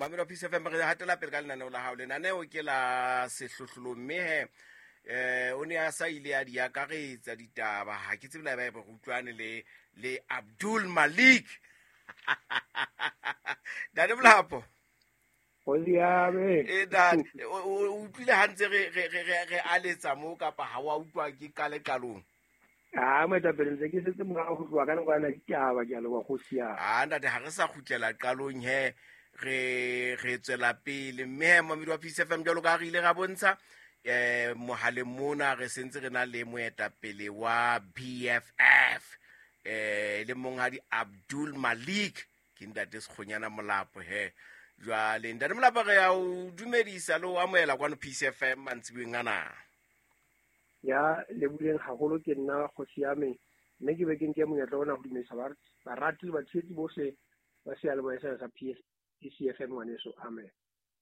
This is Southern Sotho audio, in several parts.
Mamelo Peace FM, re hatela pele ka lenaneo la hao. Lenaneo ke la sehlohlolong, mme he o ne a sa ile a di akaretsa ditaba. Ha ke tsebe la eba re utlwane le Abdul Malik. Ntate Molapo. E ntate, o utlwile ha ntse re aletsa mo kapa ha wa utlwa ke qale qalong? Ah, moetapele, ntse ke setse morao ho tloha ka nako ya ditaba, ke a leboha kgosi ya. Ah, ntate, ha re sa kgutlela qalong he, re tswela pele. Mme he, momedi wa Peace FM, jwalo ka ha re ile ra bontsha mohaleng mona, re sentse re na le moetapele wa BFF, le monghadi Abdul Malik, ke ntate Sekgonyana Molapo he. Jwale ntate Molapo, re ya o dumedisa le o amohela kwano Peace FM mantsiboeng ana. Ya lebohileng haholo ke nna kgosi ya me, mme ke be ke nke monyetla ona ho dumedisa barati le batshehetsi bohle ba seyalemoya sena sa PCFM ngwaneso. Amen.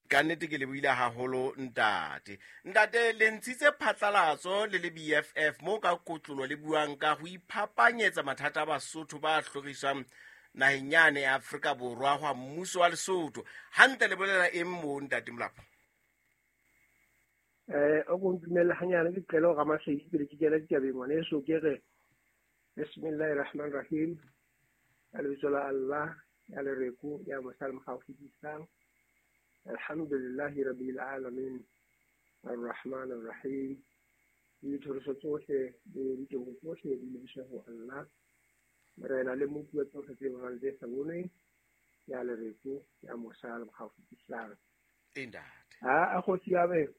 Ka nnete ke lebohile haholo ntate. Ntate, le ntshitse phatlalatso le le BFF moo ka kotlolo le buang ka ho iphapanyetsa mathata a Basotho ba hloriswang naheng yane ya Afrika Borwa hwa mmuso wa Lesotho. Hantle le bolela eng moo ntate Molapo? O ko ntumelle hanyane ke qele ho Ramasedi pele ke kena ditabeng ngwaneso, ke re Bismillahirrahmanirrahim. Ka lebitso la Allah ya lereko ya mosali mogau fetisang. Alhamdulillahi rabbil alamin arrahmanir rahim. Dithoriso tsohle le diteboho tsohle di lebiswe ho Allah, Morena le Mopi wa tsohle tse bonwang tse sa bonweng, ya lereko ya mosali mogau fetisang. Ntate. Ha a kgosi ya be,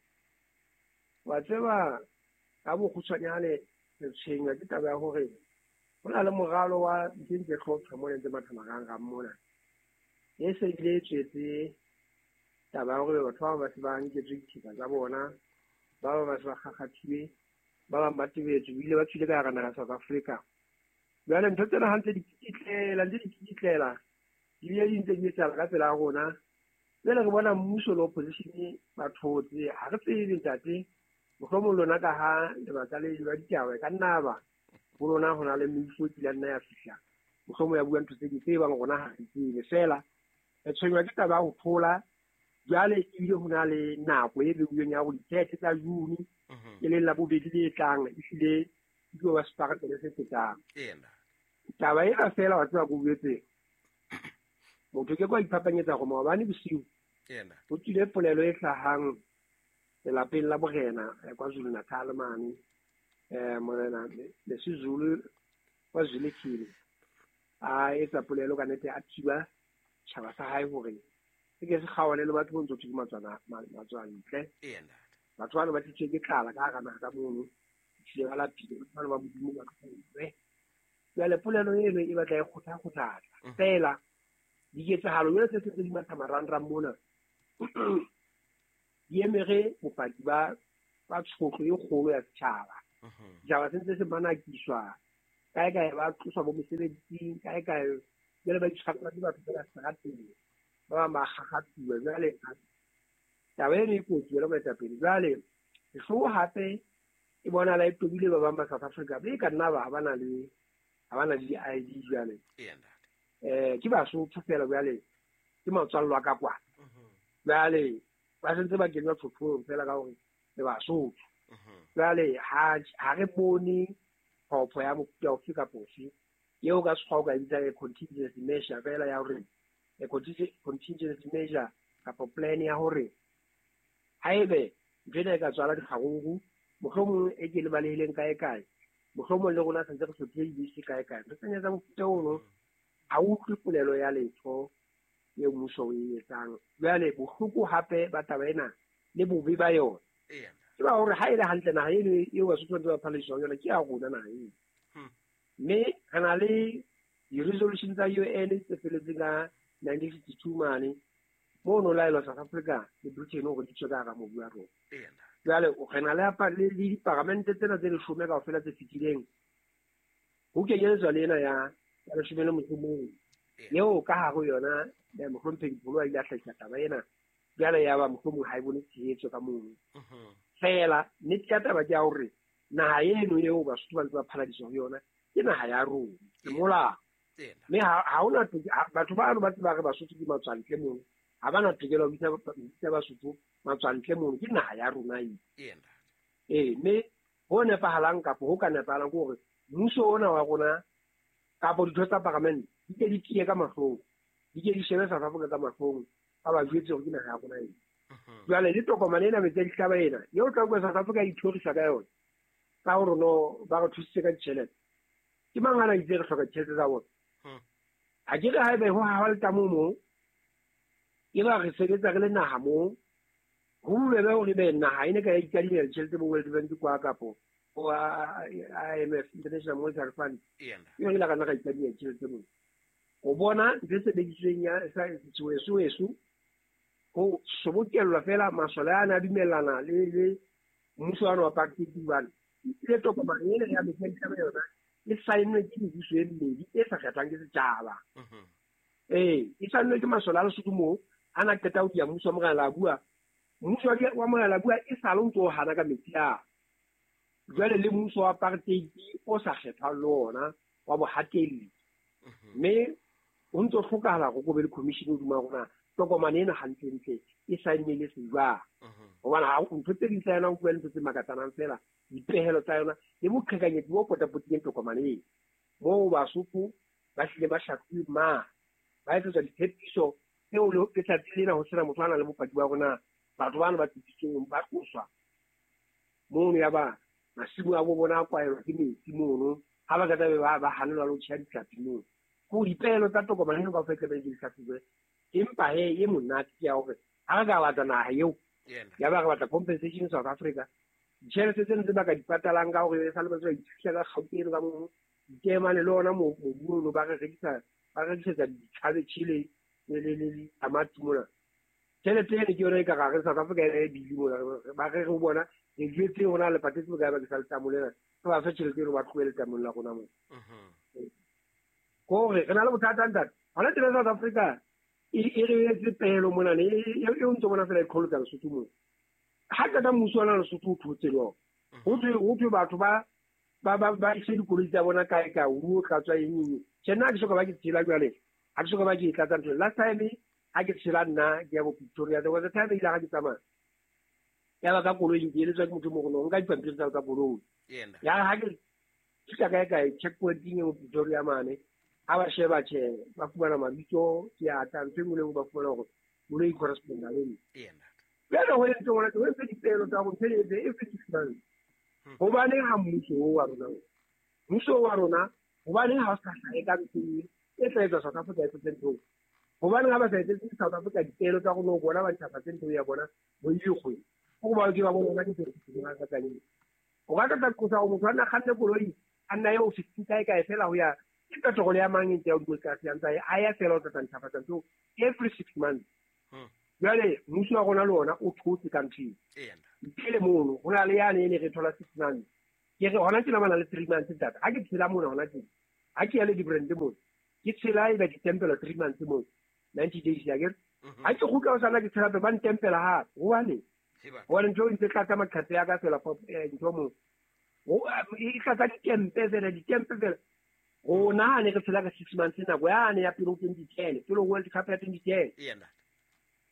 wa tseba ka bokgutshwanyane re tshwenywa ke taba ya hore ho na le moralo wa ntse ntse hlopha mona ntse matha marangrang mona. E se bile e tswetse taba ya hore batho ba bang ba se ba nketswe dithepa tsa bona, ba bang ba se ba kgakgathilwe, ba bang ba tebetswe, ebile ba tswile ka hara naha ya South Africa. Jwale ntho tsena ha ntse di kititlela, ntse di kititlela, ebile di ntse di etsahala ka pela rona. Jwale re bona mmuso le opposition ba thotse, ha re tsebe ntate, mohlomong lona ka ha lebaka le ba ditaba e ka nna ba ho lona ho na le meifo e kile nna ya fihla, mohlomong ya bua ntho tse ding tse bang rona ha re tsebe. Feela re tshwenywa ke taba ya ho thola. Jwale ebile ho na le nako e beuweng ya hore di-thirty tsa June, e leng la bobedi le tlang, ehlile e tlo ba separatele se fetang. Taba ena feela wa tseba ko boletse, motho ke kwa iphapanyetsa hore maobane bosiu ho tswile polelo e hlahang lelapeng la borena KwaZulu Natal mane, morena Lesizulu wa Zwelithini a etsa polelo ka nnete, a thiba tjhaba sa hae hore se ke se kgaohane le batho bo ntso thwe ke matswantle. Batho bana ba tlisitswe ke tlala ka hara naha ka mono, ehlile ba lapile, batho bana ba Modimo ba tlohellwe. Jwale polelo eno e batla e kgotha-kgothatsa feela diketsahalo jwale tse sentse di matha marangrang mona di emere bopaki ba tshotlo e kgolo ya setjhaba. Setjhaba se ntse se manakiswa kae kae, ba tloswa bo mesebetsing kae kae, jwale ba itshwarela ke batho feela seterateng, ba bang ba kgakgathuwa. Jwale taba eno e kotsi jwale moetapele. Jwale sehloho hape e bonahala e tobile ba bang ba South Africa, be ka nna ba ha ba na le di-ID jwale. Ke Basotho feela jwale, ke matswallo a ka kwana. Jwale ba sentse ba kenywa tshotlong feela ka hore le Basotho. Jwale ha re bone phopho ya mofuta ofe kapa ofe eo ka sekgowa o ka e bitsang a contingency measure feela ya hore a contingency measure kapa plan ya hore haebe ntho ena e ka tswala dikgaruru, mohlomong e ke le balehileng kae kae, mohlomong le rona sentse re hlophile dibese kae kae. Ntho tsena tsa mofuta ono ha o utlwe polelo ya letho eo mmuso o e etsang. Jwale bohloko hape ba taba ena le bobe ba yona ke ba hore ha e le hantle naha eno eo Basotho ba ntse ba phallisa ho yona ke ya rona naha eno. Mme re na le di-resolution tsa UN tse feletseng ka 1952 mane, moo no laelwa South Africa le Britain hore di tswe ka hara mobu wa rona. Jwale re na le diparamente tsena tse leshome kaofela tse fetileng, ho kenyeletswa le ena ya leshome le motso o mong, eo ka hare ho yona mohlomphehi Pholo a ile a hlahisa taba ena. Jwale ya ba mohlomong ha e bone tshehetso ka mono. Feela nnete ya taba ke ya hore naha eno eo Basotho ba ntse ba phaladiswa ho yona ke naha ya rona, ke molao. Mme ha hona batho bano ba tseba re Basotho ke matswantle mono. Ha ba na tokelo ya ho bitsa Basotho matswantle mono, ke naha ya rona eo. Ee, mme ho nepahalang kapa ho ka nepahalang ke hore mmuso ona wa rona kapa ditho tsa paramente di ke di tiye ka mahlong, di ke di shebe South Africa ka mahlong, ba ba jwetse hore ke naha ya rona eo. Jwale le tokomane ena metsi a dihlaba ena eo tla utlwa South Africa e ithorisa ka yona ka hore no ba re thusitse ka ditjhelete. Ke mang a na itse re hloka ditjhelete tsa bona? Ha ke re haebe ho hawa letamo moo, e ba re sebetsa re le naha moo, ho bobebe hore ebe naha e ne ka ya ikadimela ditjhelete bo World Bank kwa kapo bo IMF, International Monetary Fund. E re ile ka nna ra ikadimela ditjhelete moo. O bona ntho e sebedisitsweng ya seweso ho sobokellwa fela masole a na a dumellana le mmuso wa apartheid hobane le tokomane ena ya metsi a dihlaba yona e saennwe ke mebuso e mmedi e sa kgethwang ke setjhaba. Ee, e saennwe ke masole a Lesotho moo a na qeta ho dia mmuso wa Morena Labua. Mmuso wa Morena Labua e sale o ntso o hana ka metsi a. Jwale le mmuso wa apartheid o sa kgethwang le ona wa bohatelli. Mme ho ntso hlokahala hore ko be le commission hodima rona tokomane ena hantlentle e saennwe le se jwang. Hobane ha ntho tse ding tsa yona o bua le ntho tse makatsanang fela, dipehelo tsa yona le boqhekanyetsi bo potapotileng tokomane ena. Moo Basotho ba hlile ba shahluwe ma, ba etsetswa ditshepiso tseo le letsatsi lena ho sena motho a nang le bopaki ba rona, batho bana ba tshepisitsweng ba tloswa mono, ya ba masimo a bo bona a kwaelwa ke metsi mono, ha ba qeta be ba hanelwa le ho tjheha ditlhapi mono. Ke dipehelo tsa tokomane eno kaofela tlamehile di hlahlojuwe. Empa he e monate ke ya hore ha re ka batla naha eo, ya ba re batla compensation South Africa, ditjhelete tseno tse ba ka di patalang ka hore e sale ba tswa ithusha ka kgauta eno ka mono, ditemane le ona mobu ono ba re rekisa, ba rekisetsa di-cabbage le ditamati mona. Tjhelete eno ke yona e ka re South Africa e bili mona, ba re re ho bona re jwetse hona le patetse bokae bakeng sa letamo lena, re ba fe tjhelete eno ba tlohele letamong la rona mona. Kore re na le bothata ntate. Hona tjena South Africa e re etse pehelo mona ne, e o ntso bona fela e qholotsa Lesotho mona. Ha qeta mmuso wa Lesotho o thotse le ona. Ho thwe batho ba ise dikoloi tsa bona kae kae, o ruo tlatswa eng eng. Tjhe, nna ha ke soka ba ke tshela jwale, ha ke soka ba ke e tlatsa ntho. Last time ha ke tshela nna ke ya bo Pretoria, there was a time ile ha ke tsamaya. Ya ba ka koloing ke eletswa ke motho mo go nka dipampiri tsa ka koloi. Ya ha ke fihla kae kae checkpointing e mo Pretoria mane, ha ba sheba tjhe, ba fumana mabitso ke a tla ntho e nngwe le nngwe ba fumana hore koloi e correspond-a le nna. Jwale ho entse hore ho entse dipehelo tsa hore ntho e etse every 6 months. Hobaneng ha mmuso oo wa rona, mmuso wa rona, hobaneng ha o sa hlahe ka ntho e tla etswa South Africa e tlose ntho? Hobaneng ha ba sa etsetse South Africa dipehelo tsa rona ho bona ba ntjhafatse ntho ya bona kgwedi le kgwedi? Ho ba ke ba bona ke tsela tse tsa teng. O ka tla qosa hore motho a nna kganne koloi a nna ye ofising kae kae fela ho ya ke petrol ya mang e ntse ya hodimo tlase ya ntse a ya fela o tla ntjhafatsa ntho every 6 months. Jwale mmuso wa rona le ona o thotse ka ntho eo. Pele mono ho na le yane e ne re thola 6 months. Ke re hona tjena ba na le 3 months tata. Ha ke tshela mona hona tjena, ha ke ya le di-brand mona, ke tshela e ba ditempela 3 months mona, 90 days ya ke. Ha ke kgutla ho sala ke tshela ba ntempela hape. Hobane hobane ntho e ntse tlatsa maqhephe a ka fela ntho mo. E tlatsa ditempe fela, ditempe fela. Rona ha ne re tshela ka 6 months nako yane ya pele ho 2010, pele ho World Cup ya 2010.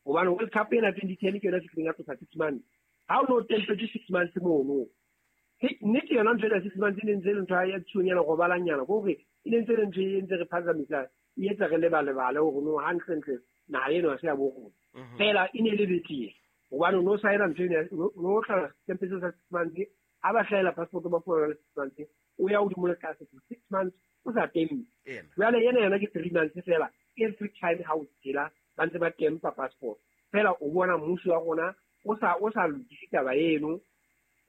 Hobane World Cup ena 2010 ke yona fihleng ya tlosa 6 months. Ha o no tempetse 6 months mono. Nnete yona ntho ena 6 months e ne ntse e le ntho ya tshunyana robalanyana, ke hore e ne ntse e le ntho e ntse re phazamisa, e etsa re lebalebale hore no hantlentle naha eno ha se ya bo rona. Fela e ne e le betere. Hobane o no saena ntho ena, o no tla tempetse sa 6 months, ha ba hlahela passport ba fumana le 6 months, o ya hodimo le tlase for 6 months o sa tempe. Jwale ena yona ke 3 months fela, every time ha o tshela ba ntse ba tempa passport. Fela o bona mmuso wa rona o sa lokise taba eno.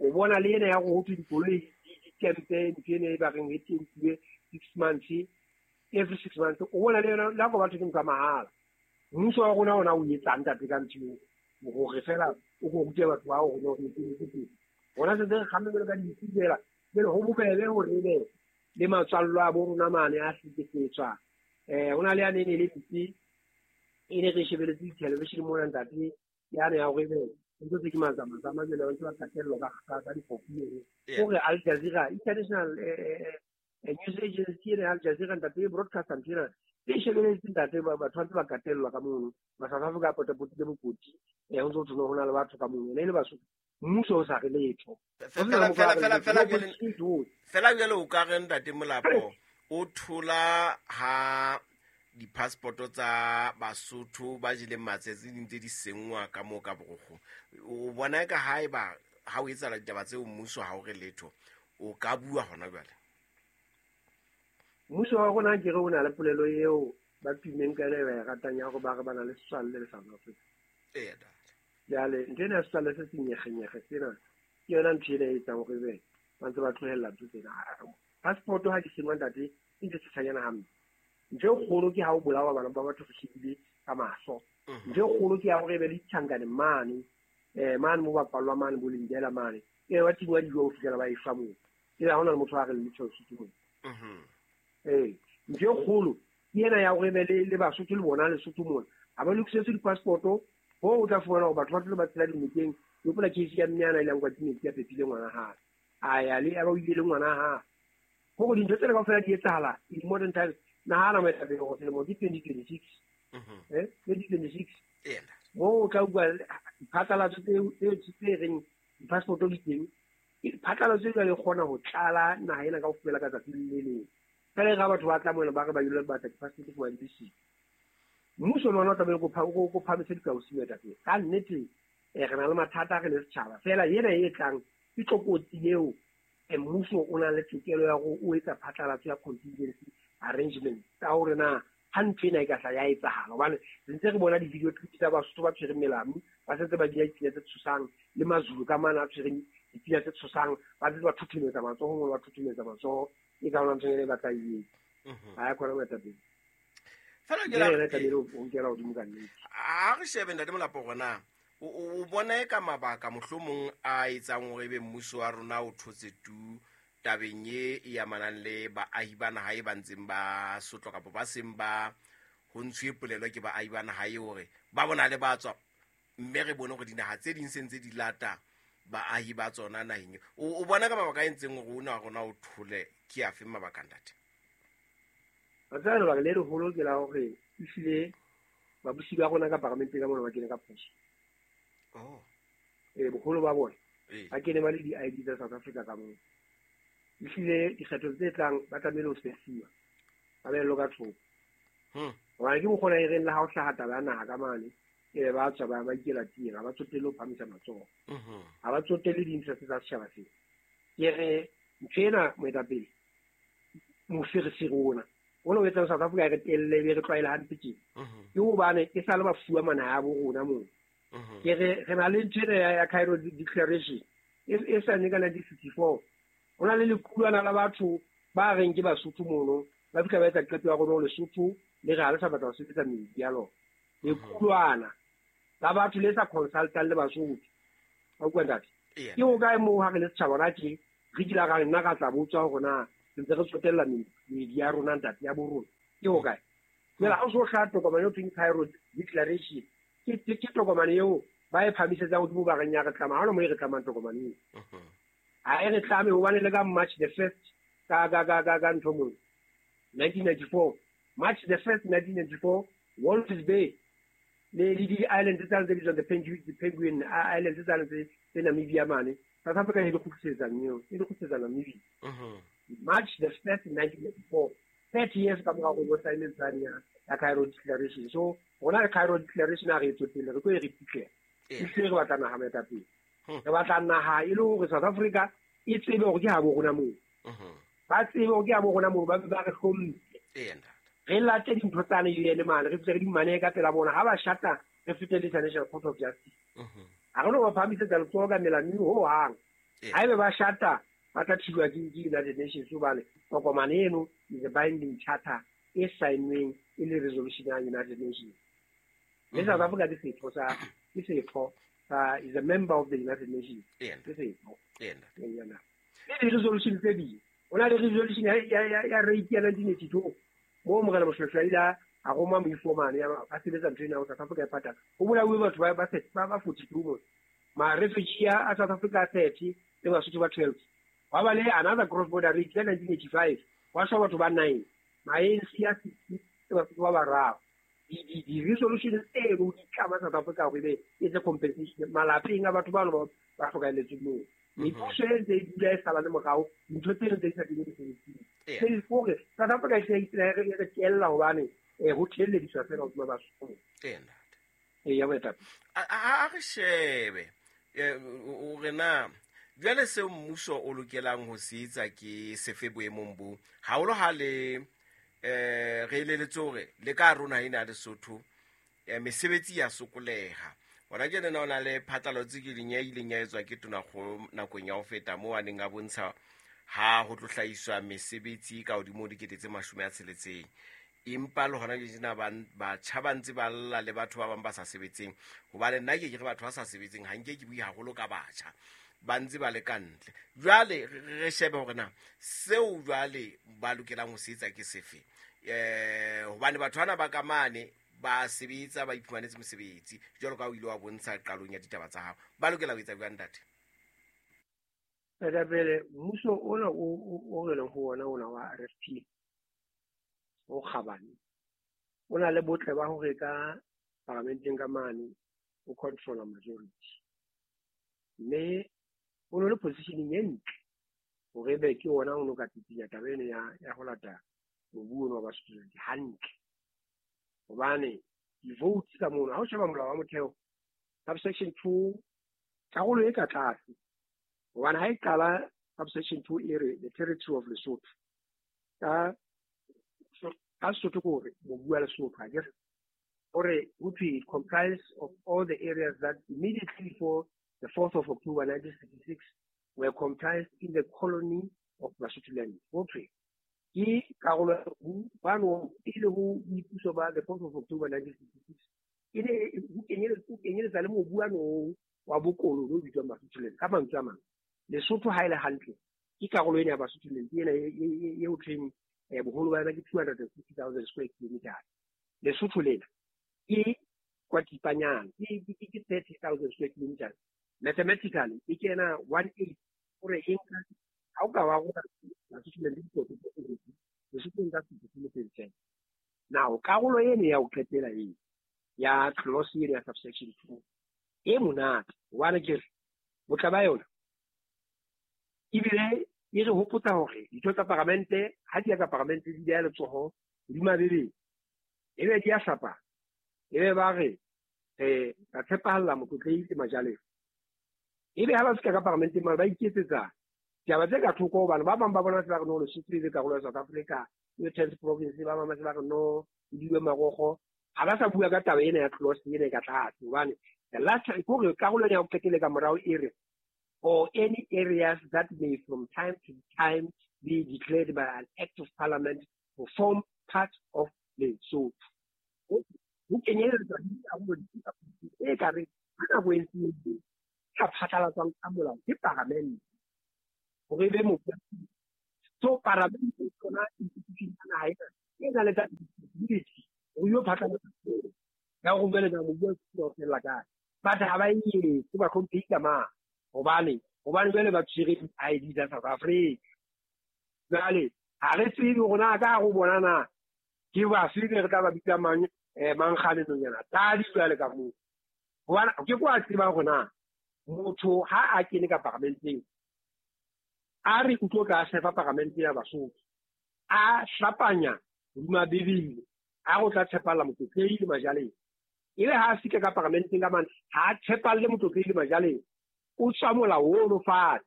O bona le ena ya ho thwe dikoloi di tempe, ntho ena e ba reng e tempuwe 6 months, every 6 months. O bona le yona le ha batho ke ntho ya mahala. Mmuso wa rona ona o etsang ntate ka ntho eo, hore fela o go rute batho bao hore no re etse teng. Rona se re kgamme jwalo ka dintsi fela, jwale ho bobebe hore ebe le matswallo a bo rona mane a hlekefetswa. Ho na le yane e ne le ntsi, e ne re shebeletse di-television mona ntate, yane ya hore ebe ntho tse ke matsamatsamma jwale ba ntse ba qetellwa ka difofu eno. Hore Al Jazeera, International News Agency ena ya Al Jazeera ntate e broadcaster ntho ena, E shebeletse ntate, batho ba ntse ba katellwa ka mono. Ma-South Africa a potapotile bokoti, ho ntse ho thwe ho na le batho ka mono. Ne e le Basotho, mmuso o sa re letho. Fela jwale o ka re ntate Molapo o thola ha di-passport tsa Basotho ba jeleng matsetse di ntse di senngwa ka moo ka borokgo. O bona ka haeba ha o etsahala ditaba tseo mmuso ha o re letho, o ka bua hona jwale? Mmuso wa rona ke re o na le polelo eo ba tummeng ka yona e ba e ratang ya hore ba re ba na le setswalle le South Africa. Jwale ntho ena ya setswalle se senyegenyege sena ke yona ntho ena e etsang hore ebe ba ntse ba tlohella ntho tsena. Passport ha di sengwa ntate e ntse tshosanyana hampe. Ntho e kgolo ke ha o bolawa bana ba batho re shebile ka mahlo. Ntho e kgolo ke ya hore ebe le ditjhankane mane, mane mo ba kwallwa mane bo Lindela mane. Ebe ba tingwa dijo ho fihlela ba e shwa moo. Ebe ha hona le motho a re le letho Lesotho moo. Ntho e kgolo ke ena ya hore ebe le Basotho le bona Lesotho mona. Ha ba lokisetswe di-passport-o, hoo o tla fumana hore batho ba tlo ba tshela dinokeng. Ke hopola case ya mme ana e leng kwa metsi a pepile ngwana hae. A ya le, ya ba o ile le ngwana hae. Hore dintho tsena kaofela di etsahala in modern times. Nahana moetapele hore selemo ke 2026. 2026. Moo o tla utlwa diphatlalatso tse reng di-passport di teng. Phatlalatso e jwale e kgona ho tlala naha ena kaofela ka tsatsi le leng. Fela e re ha batho ba tla mona ba re ba ilo batla di-passport for di siko. Mmuso le ona o tlamehile ko phamise dikausi moetapele. Ka nnete re na le mathata re le setjhaba. Fela ena e tlang ke tlokotsi eo mmuso o na le tokelo ya hore o etsa phatlalatso ya contingency arrangement tsa hore na ha ntho ena e ka hla ya etsahala. Hobane re ntse re bona di-video clip tsa Basotho ba tshwereng melamu, ba sentse ba bina dipina tse tshosang, le Mazulu ka mane a tshwereng dipina tse tshosang, ba ntse ba thothometsa matsoho moo ba thothometsa matsoho. E ka hona ntho ena e batla e etsa. Ha ya khona moetapele. Fela ke yena tlamehile o nkela hodimo ka nnete. Ha re shebe ntate Molapo hore na o bona e ka mabaka mohlomong a etsang hore ebe mmuso wa rona o thotse tu tabeng e e amanang le baahi ba naha e ba ntseng ba sotlwa kapa ba seng ba ho ntshuwe polelo ke baahi ba naha e hore ba bona le ba tswa, mme re bone hore dinaha tse ding se ntse di lata baahi ba tsona naheng eo. O bona ka mabaka a entseng hore ona wa rona o thole ke afe mabaka ntate? Wa tseba lebaka le leholo ke la hore ehlile babusi ba rona ka paramenteng ka mona ba kene ka phoso. Boholo ba bona ba kene ba le di-I D tsa South Africa ka moo. Ehlile dikgetho tse tlang ba tlamehile ho sesiwa, ba behellwe ka thoko. Hobane ke mokgona e reng le ha o hlaha taba ya naha ka mane, ebe ba tswa ba ikela teng, ha ba tsotelle ho phamisa matsoho. Ha ba tsotelle di-interest tsa setjhaba sena. Ke re ntho ena moetapele, moferefere ona, ona o etsang South Africa re telle be re tlwaele hampe tjena. Ke hobane e sale ba fuwa manaha ya bo rona moo. Ke re re na le ntho ena ya Cairo Declaration e saennwe ka 1954. Ho na le lequlwana la batho ba reng ke Basotho mono, ba fihla ba etsa qeto ya rona Lesotho le re ha le sa batla ho sebetsa meedi ya lona. Lequlwana la batho le sa consultang le Basotho. Wa utlwa ntate? Ke hokae moo ha re le setjhaba hona tje, re kila ra nna ra tla botswa hore na re ntse re tsotella meedi ya rona ntate ya bo rona. Ke hokae? Jwale ha o so hlaha tokomane eo thweng Cairo Declaration, ke tokomane eo ba e phamisetsang hodimo ba reng ya re tlama. Ha hona moo e re tlamang tokomane eo. Ha e re tlame hobane le ka March the 1st ka ntho moo 1994, March the 1st 1994, Walvis Bay le di islands tse tse bitswang the Penguin Islands tse tse Namibia mane. South Africa e di kgutlisetsa eo, e di kgutlisetsa Namibia. March the 1st 1994, 30 years ka mora hore sign tsane ya Cairo Declaration. So rona le Cairo Declaration ha re e tsotelle, re tlo e re pitlela. Ehlile re batla naha moetapele. Re batla naha e le hore South Africa e tsebe hore ke habo rona moo. Ba tsebe hore ke habo rona moo, ba be ba re hlomphe. Re late dintho tsane UN mane, re fihle re di manehe ka pela bona. Ha ba shata, re fete le International Court of Justice. Ha re no ba phahamisetsa letsoho ka melaming ho hang. Haebe ba shata, ba tla thibwa ke United Nations hobane tokomane eno is a binding charter e saennweng e le resolution ya United Nations. Le South Africa ke setho sa, ke setho sa, is a member of the United Nations. Ke setho. Le di-resolution tse ding. Ho na le resolution ya rape ya 1982. Moo Morena Moshoeshoe a ile a roma moifo mane, ya ba sebetsa ntho ena ho South Africa e patala. Ho bolauwe batho ba 42 mona. Ma-refugee a South Africa a 30 le Basotho ba 12. Hwa ba le another cross border rape ka 1985. Hwa shwa batho ba 9. Ma-A N C a 60 ke Basotho ba bararo. Di-resolution tseno di tlama South Africa hore ebe e etse compensation malapeng a batho bano ba hlokahelletsweng moo. Mepuso e ntse e dula e sala le morao, dintho tseno tse di sa kenye mesebetsing. Hore South Africa e se e re tella hobane ho thellediswa fela hodima Basotho. Eya, moetapele. A re shebe hore na jwale seo mmuso o lokelang ho se etsa ke sefe boemong bo haholo ha le re eleletse hore le ka rona ena ya Lesotho mesebetsi ya sokoleha. Hona tjena na o na le phatlalatso ke leng ya ileng ya etswa ke tonakgolo nakong ya ho feta moo a neng a bontsha ha ho tlo hlahiswa mesebetsi ka hodimo ho 60,000. Empa le hona tjena batjha ba ntse ba lla le batho ba bang ba sa sebetseng, hobane nna ke ke re batho ba sa sebetseng ha nke ke bue haholo ka batjha, ba ntse ba le ka ntle. Jwale re shebe hore na seo jwale ba lokelang ho se etsa ke sefe, hobane batho bana ba ka mane ba sebetsa, ba iphumanetse mosebetsi jwalo ka o ile wa bontsha qalong ya ditaba tsa hao. Ba lokela ho etsa jwang, ntate? Pele mmuso ona o re leng ho ona ona wa RFP o kgabane, o na le botle ba hore ka paramenteng ka mane o controla majority, mme o no le positioning e ntle hore ebe ke ona o no ka tsitsinya taba eno ya ho lata mobu ono wa Basotho hantle. Hobane di-votes ka mono, ha o sheba molao wa motheo subsection 2 karolo e ka tlase, hobane ha e qala subsection 2 e re the territory of Lesotho, ka Sesotho ke hore mobu wa Lesotho, ha ke re hore ho thwe it comprise of all the areas that immediately before the 4th of October 1966 were comprised in the colony of Basutoland. Ho thwe ke karolo ya mobu bano e le ho boipuso ba the 4th of October 1966, e ne ho kenyeletsa le mobu ano wa bokolone o bitswang Basutoland. Ka mantswe a mang, Lesotho ha e le hantle ke karolo ena ya Basutoland ena e ho thweng boholo ba yona ke 250,000 square kilometers. Lesotho lena ke kwa tipanyana ke 30,000 square kilometers. Mathematically e kena 1/8 hore e nka ha o ka wa rona Basutoland le dikoto tse pedi, Lesotho nka 50%. Now karolo ena ya ho qetela e ya clause ena ya subsection 2 e monate, hobane ke re botla ba yona ebile e re hopotsa hore ditho tsa paramente ha di ya ka paramente di beha letsoho hodima Bibele, ebe di a hlapa, ebe ba re re ka tshepahalla motlotlehi le majalefa. Ebe ha ba fihla ka paramenteng mane ba iketsetsa ditaba tse ka thoko, hobane ba bang ba bona se ba re no Lesotho e le karolo ya South Africa, e tenth province, ba bang ba se ba re no e diwe marokgo. Ha ba sa bua ka taba ena ya clause ena e ka tlase, hobane the last hore karolo ena ya ho qetela ka morao e re or any areas that may from time to time be declared by an act of parliament to form part of Lesotho. Ho kenyeletsa dikarolo tse ka reng ha nako e ntse e ka phatlalatswang ka molao ke paramente hore e be mobu. So paramente ke yona institution ya naha ena e nang le that responsibility hore yo phatlalatsa ya hore jwale na mobu wa fella kae. But ha ba e etse, ba hlomphehi ka mang? Hobane jwale ba tshwere di-ID tsa South Africa. Jwale ha re tsebe hore na ka hare ho bona na ke bafe re tla ba bitsa mang mankgane nonyana tadi jwale ka moo. Hobane ke kwa tseba hore na motho ha a kene ka paramenteng a re o tlo tla sefa paramente ya Basotho, a hlapanya hodima Bibele a go tla tshepalla motlotlehi le majaleng, ebe ha a fihla ka paramenteng ka mane ha a tshepalle motlotlehi le majaleng, o tswa molao ono fatshe,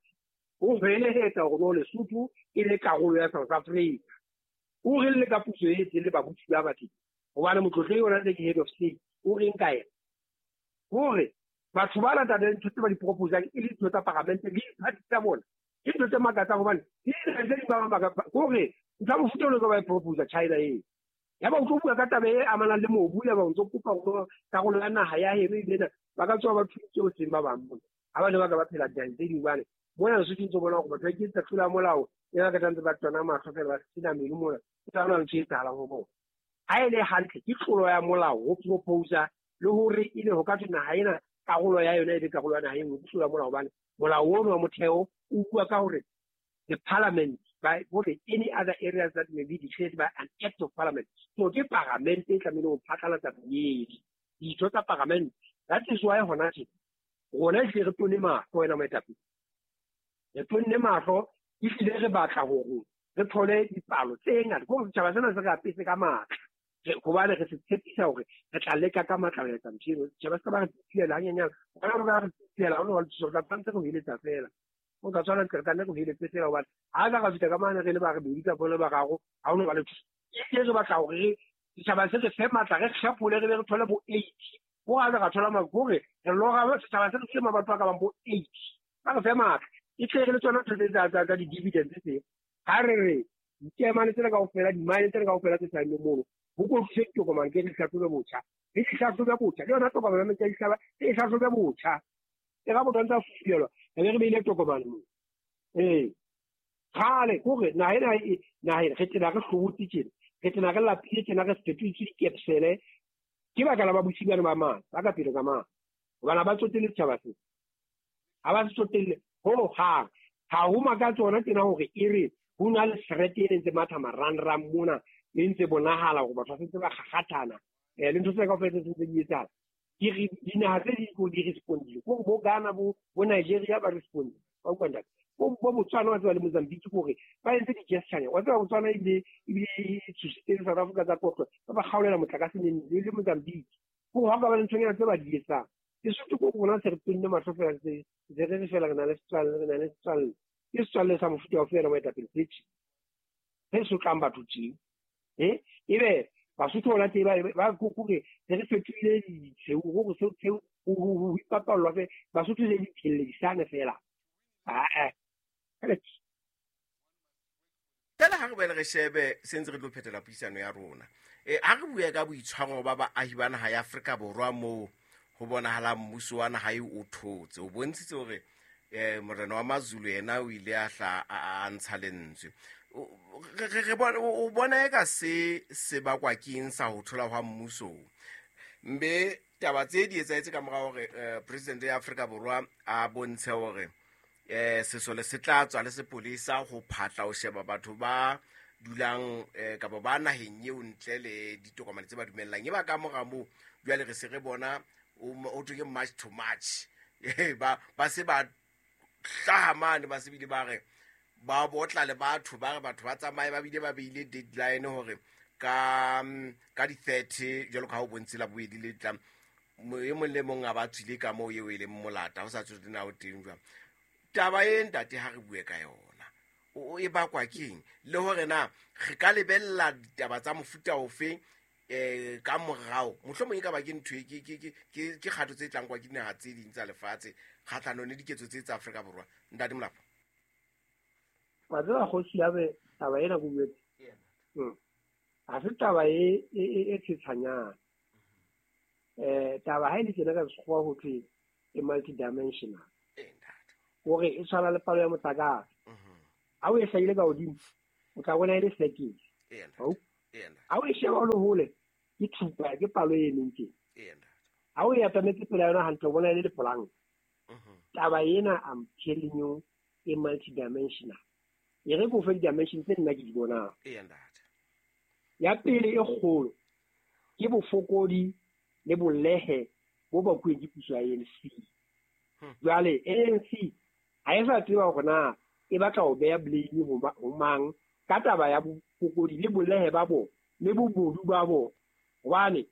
o hwelehetsa hore no Lesotho e le karolo ya South Africa, o re le ka puso e teng le babusi ba bateng, hobane motlotlehi ona ntse ke head of state, o reng ka yena? Hore batho ba latang ntho tse ba di proposang e le ditho tsa paramente le diphathi tsa bona, ke ntho tse makatsang, hobane ke tse ding ba bang hore ntho ya mofuta ono ba e proposa China eo. Ya ba o tlo bua ka taba e amanang le mobu, ya ba o ntso kopa hore karolo ya naha ya heno e lena ba ka tswa ba thusitse ho seng ba bang mona. Ha ba ne ba ka ba phela dinaheng tse ding, hobane mona Lesotho ntse bona hore batho ba iketsetsa tlolo ya molao, e ba ka ntse ba tswana mahlo fela ba sena meno mona, ke tsa hona ntho e etsahalang ho bona. Ha e le hantle ke tlolo ya molao ho proposa le hore e le ho ka thwe naha ena karolo ya yona e be karolo ya naha e nngwe, ke tlolo ya molao, hobane molao ono wa motheo o bua ka hore the parliament, by any other areas that may be declared by an act of parliament. So ke parliament e tlamehile ho phatlalatsa meedi. Ditho tsa parliament. That is why hona tje rona ehlile re tone mahlo wena moetapele. Re tonne mahlo ehlile re batla hore re thole dipalo tse ngata. Ke hore setjhaba sena se re apese ka matla. Hobane re se tshepisa hore re tla leka ka matla ho etsa ntho eno. Setjhaba se ka ba re tsiela hanyenyane. Hona re ka re tsiela, ha ho no ba le thuso, re tla tshwanetse re ho eletsa feela. O ka tshwana re tla nne re ho eletse feela hobane ha ka ra fihla ka mane re le ba rebedi kapa le bararo, ha ho no ba le thuso. Ehlile re batla hore re setjhaba se re fe matla, re kgephole, re be re thole bo 80. Ho ra re thola matla, hore re lora setjhaba se re file mabatho a ka bang bo 80. Ba re fe matla. E tle re le tsona ntho tse tsa di-dividends tse. Ha re re dikemane tsena kaofela, di-mine tsena kaofela tse saenneng mono, ho kotlise ditokomane ke re hlahlobe botjha. Re di hlahlobe botjha. Le yona tokomane ya metsi a dihlaba, re e hlahlobe botjha. E ga motho a ntse a fufulelwa, re be re beile tokomane moo. Ee. Kgale, ke hore naha ena e, naha ena, re tena re hlobotse tjena, re tena re lapile tjena, re fetotswe dikepsele. Ke baka la babusi bana ba mane, ba ka pele ka mane. Hobane ha ba tsotelle setjhaba sena. Ha ba se tsotelle ho hang. Ha ho makatse hona tjena hore e re ho na le threat e ntse matha marangrang mona, e ntse bonahala hore batho ba sentse ba kgakgathana. Le ntho tse kaofela tse sentse di etsahala. Ke re dinaha tse ding ko di respondile. Ke hore bo Ghana, bo Nigeria ba respondile. Ba utlwa ntate. Bo Botswana wa tseba le Mozambique ke hore ba entse di-gesture. Wa tseba Botswana ebile e tshositse le South Africa tsa kotlo. Ba ba kgaolela motlakase neng le Mozambique. Ke hore ha o ka ba le nthonyana tse ba di etsang. Lesotho ke rona se re tonne mahlo feela, se re re fela re na le setswalle, re na le setswalle. Ke setswalle sa mofuta ofe yena moetapele se tjhe. Se sotlang batho tje. Ebe Basotho bona teng ba kore se re fetohile ditsheu, hore seo tsheu ho ipapallwa fe Basotho le diphelledisane fela. Aa. Fela ha re boele re shebe se ntse re tlo phethela puisano ya rona. Ha re bue ka boitshwaro ba baahi ba naha ya Afrika Borwa moo ho bonahalang mmuso wa naha eo o thotse. O bontshitse hore morena wa Mazulu yena o ile a hla a ntsha lentswe. O bona eka se se bakwa ke eng sa ho thola hwa mmuso? Mbe taba tse di etsahetse ka mora hore president ya Afrika Borwa a bontshe hore sesole se tla tswa le sepolesa ho phatla ho sheba batho ba dulang kapa ba naheng eo ntle le ditokomane tse ba dumellang. E ba ka mora moo jwale re se re bona o thwe ke march to march. Ba se ba hlaha mane, ba se bile ba re ba botla le batho, ba re batho ba tsamaye, ba bile ba beile deadline hore ka di-30 jwalo ka ha o bontshitse la bobedi le tlang, e mong le mong a ba tswile ka moo eo e leng molata, ho sa tswe na o teng jwang. Taba e ntate ha re bue ka yona, o e bakwa keng? Le hore na re ka lebella ditaba tsa mofuta ofe ka morao, mohlomong e ka ba ke ntho e, ke kgato tse tlang kwa ke dinaha tse ding tsa lefatshe kgahlanong le diketso tse tsa Afrika Borwa. Ntate Molapo. Wa tseba kgosi ya be taba ena ko buetse. Ha se taba e tshetshanyana. Taba ha e le tjena ka sekgowa ho thwe e multidimensional. Hore e tshwana le palo ya motlakase. Ha o e hlahile ka hodimo, o tla bona e le circle. Ha o e sheba o le hole, ke thupa, ke palo e emeng tjena. Ha o e atametse pela yona hantle, o bona e le lepolanka. Taba ena, I'm telling you, e multidimensional. E re ke o fe di-dimension tse nna ke di bonang. Ya pele e kgolo ke bofokodi le bolehe bo bakuweng ke puso ya ANC. Jwale ANC ha e sa tseba hore na e batla ho beha blame ho mang ka taba ya bofokodi le bolehe ba bona le bobodu ba bona. Hobane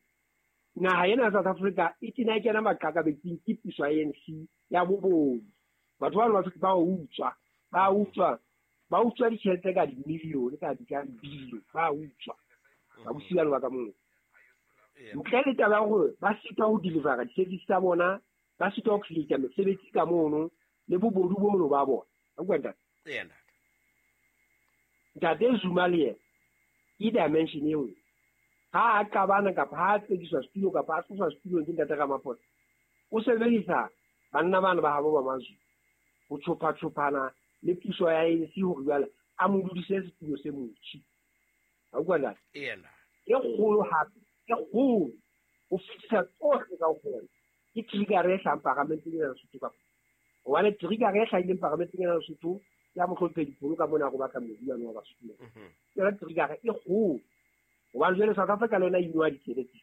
naha ena ya South Africa e tena e kena maqakabetsing ke puso ya ANC ya bobodu. Batho bano ba utswa, ba utswa, ba utswa ditjhelete ka dimilione, ka di-billion, ba utswa. Ba busi bano ba ka moo. Ntle le taba ya hore ba sitwa ho delivera di-service tsa bona, ba sitwa ho create mesebetsi ka mono le bobodu bono ba bona. Wa utlwa ntate? Ntate Zuma le yena ke dimension e nngwe. Ha a qabana kapa ha a tsekiswa setulo kapa a tloswa setulong ke ntate Ramaphosa, o sebedisa banna bana ba habo ba Mazulu ho tshopha-tshophana le puso ya ANC hore jwale a mo dudise setulo se motjhi. Wa utlwa ntate? E kgolo hape, e kgolo ho fetisa tsohle kaofela ke trigger e hlahang paramenteng ena ya Lesotho kapa. Hobane trigger e hlahileng paramenteng ena ya Lesotho ya mohlomphehi Pholo ka mona go batla mobu wa wa Basotho. Yona trigger e kgolo hobane jwale South Africa le yona e nwa ditsebe tse.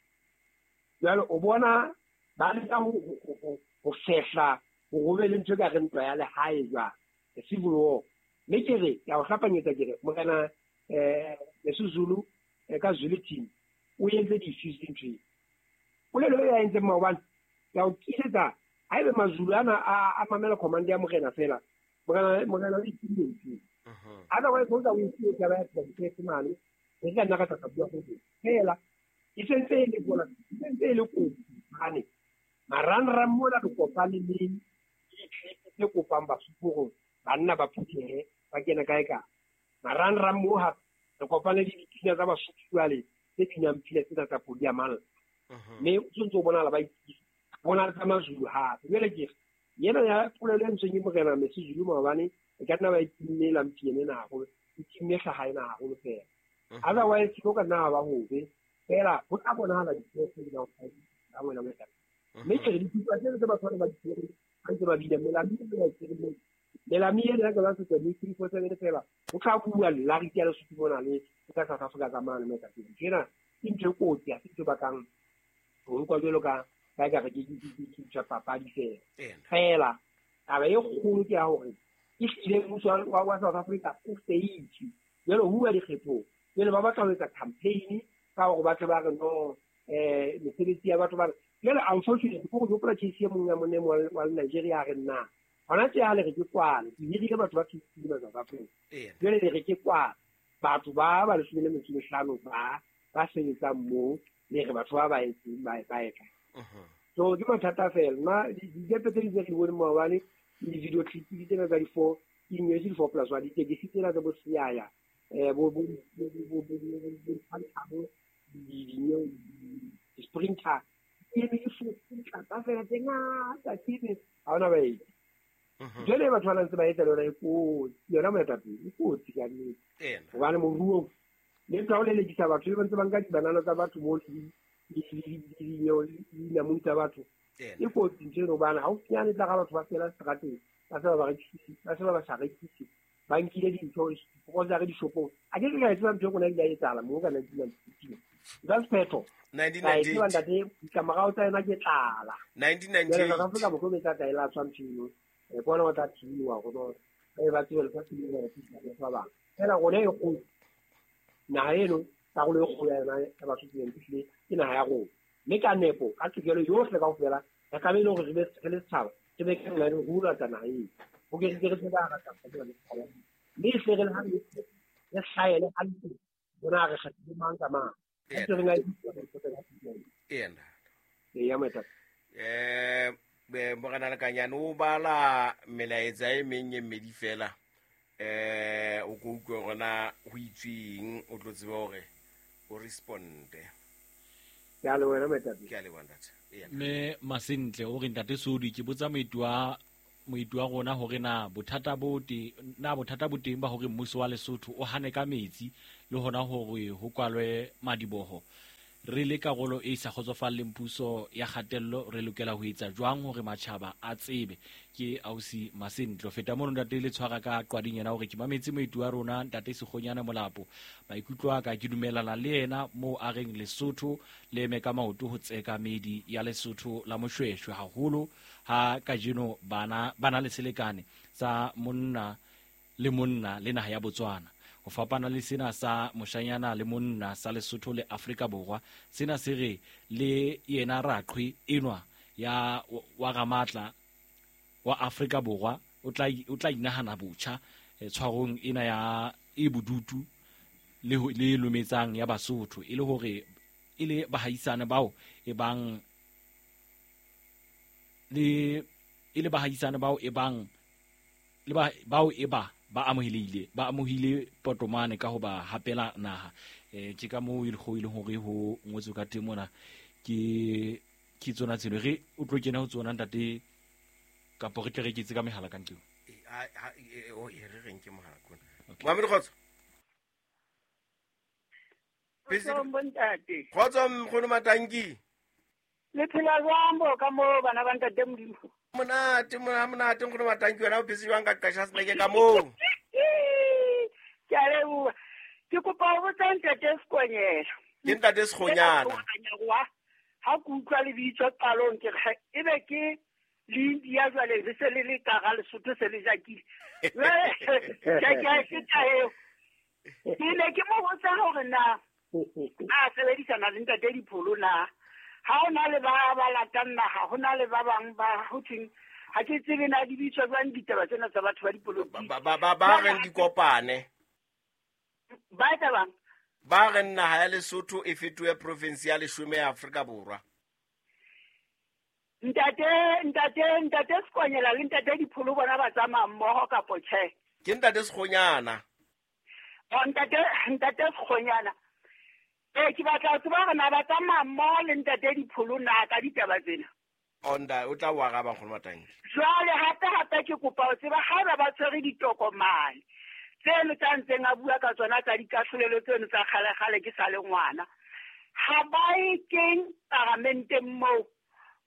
Jwale o bona ba leka ho fehla ho be le ntho e ka re ntwa ya lehae jwale, the civil war. Mme ke re ke a o hlapanyetsa ke re morena Misuzulu ka Zulu team o entse di-issues ntho eo. Polelo e a entseng maobane ke a o tiisetsa haebe Mazulu ana a mamela command ya morena fela, morena o itsile ntho eo. Otherwise o tla o itse taba ya tshwanetse mane re ka nna ra tla bua go fela e sentse e le bona e sentse e le kotsi hobane marangrang mona re kopane le di-clip tse kopang Basotho hore banna ba phuthehe ba kene kae kae. Marangrang moo hape re kopane le dipina tsa Basotho jwale tse binang pina tsena tsa podi ya malla. Mme o tshwanetse o bonahala ba itukisa bona le tsa Mazulu hape. Jwale ke re yena ya polelo e ntsweng ke morena Misuzulu maobane e ka nna ba e timme lampiene ena haholo, e timme hlaha ena haholo fela. Otherwise ho ka nna ba hobe fela ho tla bonahala dithuo tse di ka wena moetapele. Mme ke re dithuto tsena tse batho ba di tshwereng ba ntse ba bina melami e ba tshwereng melami ena ya ka se tswa 347 fela ho tla bua lariti ya Lesotho mona le ka South Africa ka mane moetapele. Ntho ena ke ntho e kotsi, ha se ntho e bakang ho nkwa jwalo ka ba ka re ke ntho ya papadi fela. Fela taba e kgolo ke ya hore e hlile mmuso wa South Africa o feitse jwale ho bua dikgethong. Jwale ba batla ho etsa campaign ka hore batho ba re no mesebetsi ya batho ba re jwale unfortunately ko go hopola case e mong ya monna wa Nigeria a re nna hona tje ha le re ke kwale ke hirile batho ba 50 ba South Africa. Jwale le re ke kwale batho ba 15 ba sebetsang moo le re batho ba etseng ba etla. So ke mathata fela nna dikepe tse di tse re di boneng maobane le video clip tsena tsa di-4 ke nyetse di-4 plus 1 ditekesi tsena tsa bo Siyaya bo di-sprinter e be di tlatsa fela tse ngata ke ha hona baeti. Jwale batho ba ntse ba etsa le yona e kotsi, yona moetapele e kotsi ka nnete. Hobane moruong le ntho ya ho lelekisa batho ba ntse ba nka dibanana tsa batho mo dinamune tsa batho e kotsi ntho eno hobane haufinyane tla ga batho ba fela seterateng ba se ba rekise ba se ba sa rekise ba nkile dintho grocery dishopong. A ke ka e tseba ntho e rona e ile ya etsahala moo ka 1992 ka sephetho 1998 ntate ditlamorao tsa yona ke tlala 1998 South Africa mohlomong e tla tla e latswa ntho eno e bona o tla thibiwa go ba tsebe lefatshe le le le ba bang fela rona e kgolo naha eno karolo e kgolo ya yona ya Basotho ehlile ke naha ya rona mme ka nepo ka tokelo yohle kaofela re tlamehile hore re be re le setjhaba re be ke re rula tsa naha eo ho ke re se ba rata mme e hle re le ha re hlaele hantle bona re kgethile mang ka mang. Morena Lekanyane o bala melaetsa e meng e mmedi fela o ko utlwe hore na ho itsweng o tlo tsebe hore o responde. Ke a leboha moetapele. Ke a leboha ntate. Mme Masentle o re ntate Sodi ke botsa moeti wa rona hore na bothata bo teng ba hore mmuso wa Lesotho o hane ka metsi le hona hore ho kwalwe madiboho. Re le karolo e sa kgotsofalleng puso ya kgatello re lokela ho etsa jwang hore matjhaba a tsebe. Ke ausi Masentle. Feta mono ntate le tshwara ka qwading yena hore ke mametse moeti wa rona ntate Sekgonyane Molapo. Maikutlo a ka ke dumelana le yena moo a reng Lesotho le eme ka maoto ho tseka medi ya Lesotho la Moshweshwe haholo ha kajeno bana le selekane sa monna le monna le naha ya Botswana. Ho fapana le sena sa moshanyana le monna sa Lesotho le Afrika Borwa, sena se re le yena raqhwe enwa ya wa Ramatla wa Afrika Borwa o tla inahana botjha tshwarong ena ya e bodutu le lometsang ya Basotho e le hore e le bahaisane bao e bang le e le bahaisane bao e bang le bao e ba ba amohile potomane ka ho ba hapela naha. Ke ka moo e le hore ho ngotswe ka teng mona ke tsona tseno re o tlo kena ho tsona ntate kapo re tle re ketse ka mehala ka ntlong. Re reng ke mohala kona. Mohammed Kgotso. Bontate. Kgotso nkgono Matanki. Le phela jwang bo ka moo bana ba ntate Modimo? Monate nkgono Matanki wena o phetse jwang ka qasha seneke ka moo? Ke a leboha. Ke kopa ho botsa ntate Sekonyela. Ke ntate Sekgonyana. Ha ke utlwa lebitso qalong ke re ebe ke le India jwale le se le le ka ga Lesotho se le jakile. Jwale ke a feta eo. Ke ne ke mo botsa hore na a sebedisana le ntate Dipholo na. Ha ho na le ba ba latang naha, ho na le ba bang ba ho thweng ha ke tsebe na di bitswa jwang ditaba tsena tsa batho ba dipolotiki. Ba reng dikopane. Ba etsa bang? Ba reng naha ya Lesotho e fetohe province ya leshome ya Afrika Borwa. Ntate Sekonyela le ntate Dipholo bona ba tsamaya mmoho kapo tjhe? Ke ntate Sekgonyana. Oh, ntate Sekgonyana. Ke batla ho tseba hore na ba tsamaya mmoho le ntate Dipholo na ka ditaba tsena. Onda o tla o araba nkgono Matanki. Jwale hape ke kopa ho tseba haeba ba tshwere ditokomane tseno tsa ntseng a bua ka tsona tsa dikahlolelo tseno tsa kgale-kgale ke sa le ngwana. Ha ba e keng paramenteng moo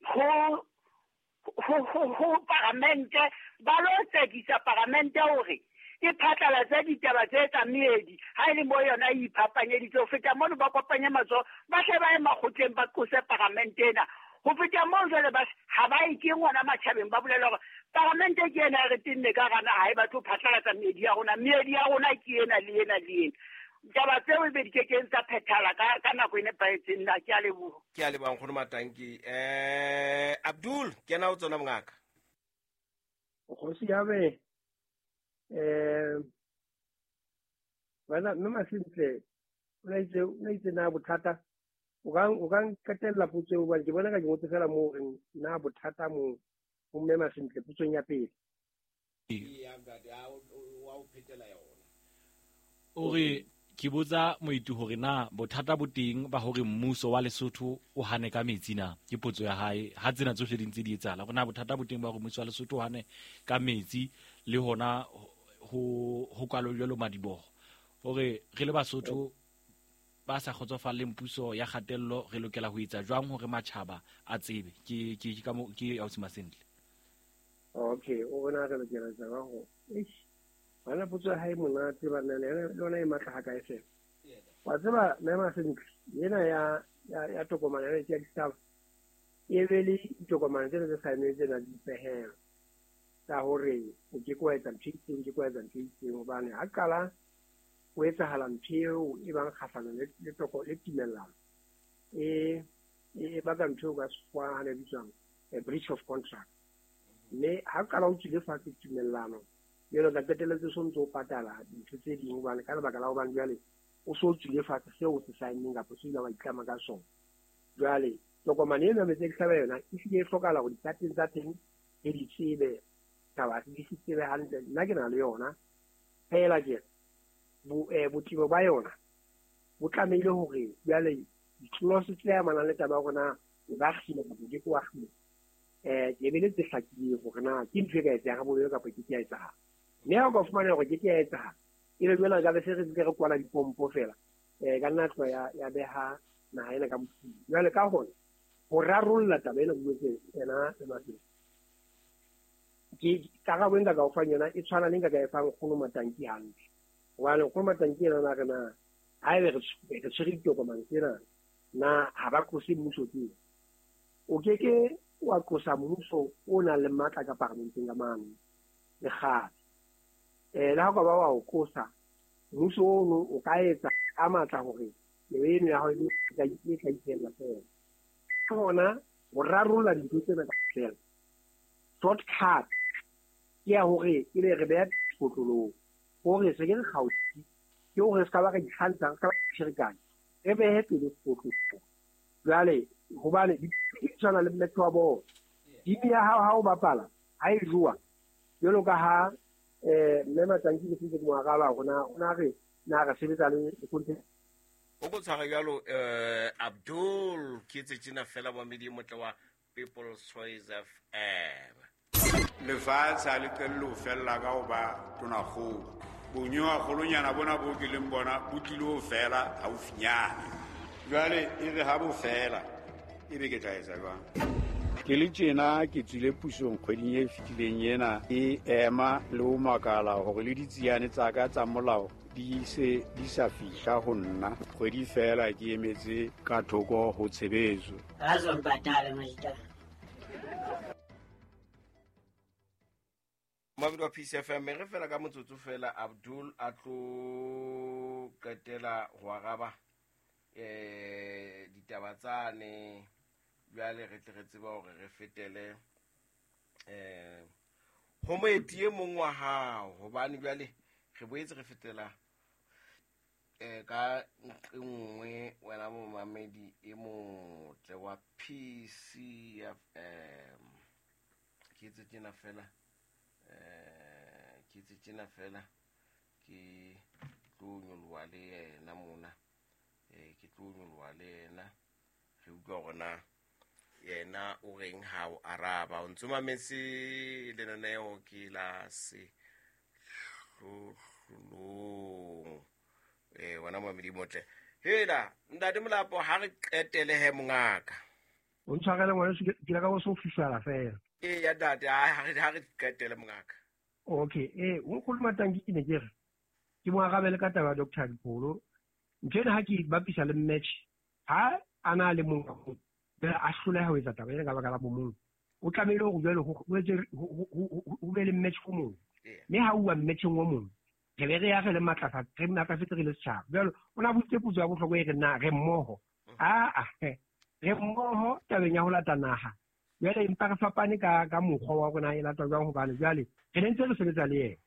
ho paramente ba lo tsekisa paramente hore e phatlalatse ditaba tse tsa meedi ha e le mo yona e iphapanyeditse. Ho feta mono ba kopanye matsoho ba hle ba ye makgotleng ba qose paramente ena. Ho feta moo jwale ba ha ba e keng hona matjhabeng ba bolela hore paramente ke ena e re tenne ka gana ha e batle ho phatlalatsa meedi ya rona. Meedi ya rona ke ena le ena le ena. Taba tseo ebe di kekeng tsa phethala ka nako e nepahetseng na. Ke a leboha. Ke a leboha nkgono Matanki. Abdul, kena o tsona mongaka. Kgosi ya be bana mme Masentle o na itse na bothata o ka nqetella potso eo hobane ke bona ka ke ngotse fela moo reng na bothata mo ho mme Masentle potsong ya pele. O re ke botsa moeti hore na bothata bo teng ba hore mmuso wa Lesotho o hane ka metsi na? Ke potso ya hae. Ha tsena tsohle di ntse di etsahala, hore na bothata bo teng ba hore mmuso wa Lesotho o hane ka metsi le hona ho kwalo jwalo madiboho. Hore re le Basotho ba sa kgotsofalleng puso ya kgatello re lokela ho etsa jwang hore matjhaba a tsebe? Ke ka mo ke ausi Masentle. Okay, o bona re lokela ho etsa jwang ho bana potso ya hae monate bana le yona e matla ha kae fela. Wa tseba mme Masentle ena ya tokomane ya ya ditaba e be le ditokomane tsena tse saenweng tsena di dipehelo tsa hore o ke ke wa etsa ntho e itseng, ke ke wa etsa ntho e itseng hobane ha qala ho etsahala ntho eo e bang kgahlano le toko le tumellano e baka ntho eo ka sekgowa ha ne bitswang a breach of contract. Mme ha qala o tswile fatshe tumellano jwale ka qetelletse so ntso o patala dintho tse ding hobane ka lebaka la hobane jwale o so tswile fatshe seo o se saenneng kapa seo ile wa itlama ka sona. Jwale tokomane ena metsi ke hlaba yona e hlile e hlokahala hore dikateng tsa teng re di tsebe taba di se tsebe hantle. Nna ke na le yona fela ke botebo ba yona bo tlamehile hore jwale di-clause tse amanang le taba ya hore na o ka kgina kapa o ke ke wa kgina ke be le tse hlakileng hore na ke ntho e ka etsehang ha bobebe kapa ke ke ya etsahala. Mme ha o ka fumana hore ke ke ya etsahala ebe jwale ka be se re ntse re kwala dipompo fela ka nna tloha ya beha naha ena ka mofung. Jwale ka hona ho rarolla taba ena buetse ena le Masentle ke karabo e nka ka o fang yona e tshwana le nka ka e fang nkgono Matanki hantle. Hobane nkgono Matanki ena na re na haebe re tshwere ditokomane tsena na ha ba qose mmuso teng. O ke ke wa qosa mmuso o nang le matla ka paramenteng ka mane le kgale. Le ha o ka ba wa o qosa mmuso ono o ka etsa ka matla hore nyewe eno ya hao e tla itshella fela. Ke hona ho rarolla dintho tsena kaofela. Shortcut ke ya hore ebe re beha sekotlolong hore se ke re kgaotse ke hore se ka ba re ikgantsha, re se ka ba re ferekanya, re behe pele sekotlolong. Jwale hobane di tshwana le mmetho wa bolo. Team ya hao ha o bapala ha e jowa jwalo ka ha mme Matanki ke sentse ke mo araba hore na o na re na re sebetsa le content. O ko tshwara jwalo Abdul ke etse tjena fela momedi motle wa People's Choice FM. Lefatshe ha le qelle ho fella ka ho ba tonakgolo. Bonyowa-kgolonyana bona bo ke leng bona bo tlile ho fela haufinyane. Jwale e re ha bo fela ebe ke tla etsa jwang? Ke le tjena ke tswile pusong kgweding e fetileng ena, ke ema le ho makala hore le ditsiane tsa ka tsa molao di se di sa fihla ho nna. Kgwedi feela ke emetse ka thoko ho tshebetso. Mamedi wa Peace FM, re fela ka motsotso fela Abdul a tlo qetela ho araba ditaba tsane. Jwale re tle re tseba hore re fetele ho moeti e mong wa hao, hobane jwale re boetse re fetela ka nqe nngwe wena momamedi e motle wa PCFM. Ke etse tjena fela, ke etse tjena fela, ke tlo nyoloha le yena mona, ke tlo nyoloha le yena, re utlwa hore na yena o reng ha o araba. O ntso mametse lenaneo ke la sehlohlolong. Wena momamedi motle. Hela ntate Molapo, ha re qetele he mongaka. O ntshwarele ngwaneso, ke ile ka bo so fifala fela. Eya ntate, ha re qetele mongaka. Okay, o nkgono Matanki ke ne ke re ke mo arabele ka taba ya Dr. Dipholo. Ntho ena ha ke bapisa le match, ha a na le mong a hloleha ho etsa taba ena ka baka la bomong, o tlamehile hore jwale ho be le match o mong. Mme ha uwa matcheng o mong, re be re ya re le re matlafetse re le setjhaba. Jwale o na botse potso ya bohlokwa e re na re mmoho. Re mmoho tabeng ya ho lata naha. Jwale empa re fapane ka mokgwa wa rona e latwa jwang, hobane jwale re ne ntse re sebetsa le yena.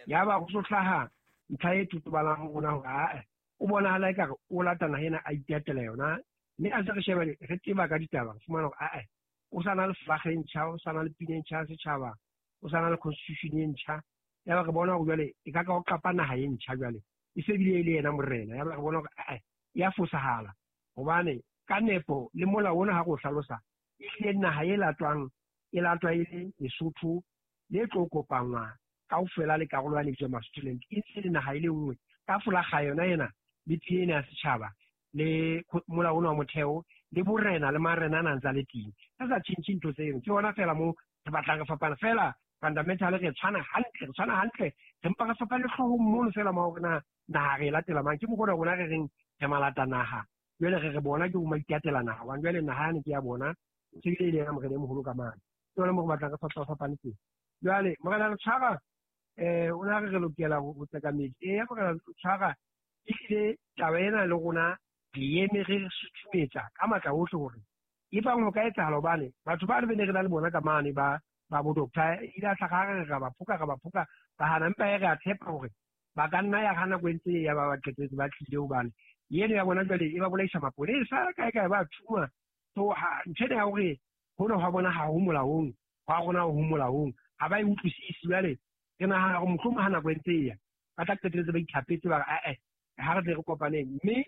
Yaba ho so hlaha ntlha e totobalang ho rona hore o bonahala ekare o lata naha ena a itatela yona. Mme a se re sheba re tseba ka ditaba, re fumana hore o sa na le flag e ntjha, o sa na le pina e ntjha ya setjhaba, o sa na le constitution e ntjha. Yaba re bona hore jwale e ka ka o qapa naha e ntjha jwale, e se bile e le yena morena. Yaba re bona hore ya fosahala, hobane ka nepo le molao ona ha re o hlalosa, ehlile naha e latwang e latwa e le Lesotho le tlo kopangwa kaofela le karolo ya lebitso Masutoland, e ntse le naha e le nngwe ka folakga yona ena le pina ena ya setjhaba le molao ona wa motheo le borena le marena a nang tsa le teng. Re sa tjhentjhe ntho tseno, ke hona fela mo re batlang re fapana fela. Fundamental re tshwana hantle, re mpa re fapane hloohong mono fela ma hore na naha re e latela mang. Ke mokgwa rona re reng re malata naha, jwale re bona ke ho maitatela naha, hobane jwale naha yane ke ya bona, se bile e le yena morena e moholo ka mane. Ke hona mo re batlang re fapane teng. Jwale morena Letshwara, o na re lokela ho tseka metsi. Eya morena Letshwara, ehlile taba ena le rona re eme re sutumetsa ka matla ohle hore e bang ho ka etsahala, hobane batho ba le ne re na le bona ka mane ba bo doctor ile a hlaha re ra ba phoka ba hana, empa e re a tshepa hore ba ka nna ya hana nako e ntse ya ba qetetse ba tlile, hobane eno ya bona jwale e ba bolaisa mapolesa kae kae ba thuma. So ntho ena ya hore hona hwa bona ha ho molaong, hwa rona ho molaong, ha ba e utlwisise. Jwale re nahana hore mohlomong ha nako e ntse e ya ba tla qetelletse ba ithapetse ba re ha re tle re kopaneng. Mme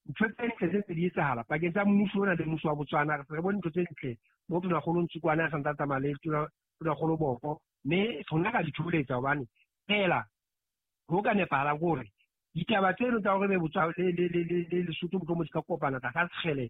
ntho tse ntle tse ntse di etsahala pakeng tsa mmuso ona le mmuso wa Botswana, re se re bone ntho tse ntle mo tonakgolo Ntsukwana a sa ntse a tsamaya le tonakgolo Boko, mme rona ra di thoholetsa, hobane fela ho ka nepahalang ke hore ditaba tseno tsa hore be Botswana le Lesotho mohlomong di ka kopana tlasa sekgele